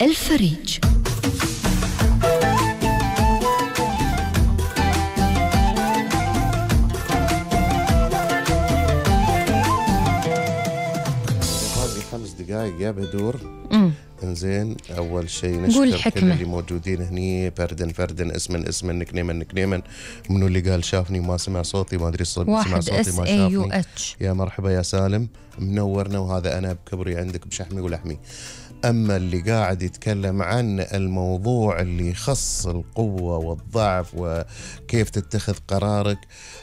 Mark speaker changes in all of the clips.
Speaker 1: الفريج.
Speaker 2: باقي 5 دقائق يا بدور. انزين، اول شيء نشكر كل اللي موجودين هني، فردن اسما نكنيما منو اللي قال شافني وما سمع صوتي، ما ادري سمع صوتي ما شافني. يا مرحبا يا سالم، منورنا، وهذا انا بكبري عندك بشحمي ولحمي. اما اللي قاعد يتكلم عن الموضوع اللي يخص القوة والضعف وكيف تتخذ قرارك،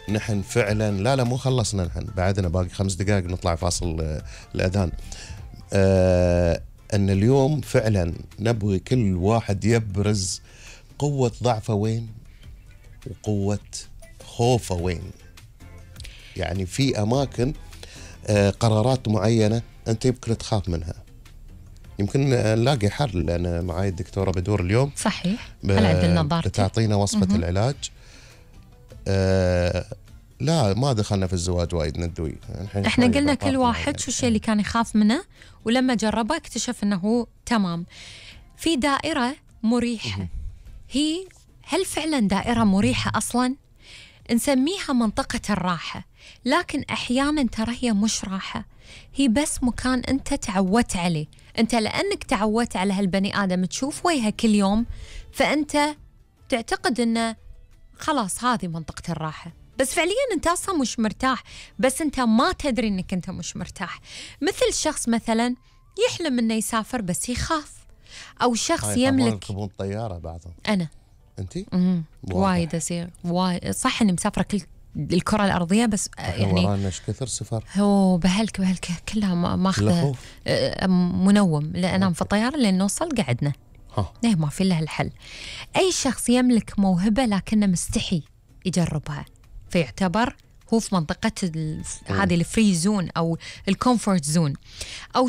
Speaker 2: نحن فعلا لا مو خلصنا، نحن بعدنا باقي 5 دقائق نطلع فاصل الأذان. أن اليوم فعلا نبغي كل واحد يبرز قوة ضعفه وين وقوة خوفه وين. يعني في أماكن قرارات معينة أنت يمكن تخاف منها، يمكن نلاقي حل. أنا معاي الدكتورة بدور اليوم،
Speaker 1: صحيح، هل عدلنا نظارتي
Speaker 2: بتعطينا وصفة العلاج. لا ما دخلنا في الزواج وايد ندوي،
Speaker 1: احنا قلنا كل واحد شو الشيء اللي كان يخاف منه، ولما جربه اكتشف انه تمام. في دائرة مريحة، هل فعلا دائرة مريحة أصلا؟ نسميها منطقة الراحة، لكن أحيانا ترى هي مش راحة، هي بس مكان أنت تعودت عليه. أنت لأنك تعودت على هالبني آدم تشوف وجهه كل يوم، فأنت تعتقد أنه خلاص هذه منطقة الراحة، بس فعليا أنت أصلا مش مرتاح، بس أنت ما تدري أنك أنت مش مرتاح. مثل شخص مثلا يحلم أنه يسافر بس يخاف، أو شخص يملك
Speaker 2: يركبون طيارة بعضهم.
Speaker 1: أنا
Speaker 2: أنتي؟
Speaker 1: وايد أصير صح إني مسافرة كل الكرة الأرضية، بس يعني
Speaker 2: ورانا ايش كثر سفر.
Speaker 1: هو بهلك كلها ماخذة منوم، لا أنام في الطيارة لين نوصل قعدنا. ما في إلا الحل. أي شخص يملك موهبة لكنه مستحي يجربها، فيعتبر هو في منطقة هذه الفري زون أو الكومفورت زون. أو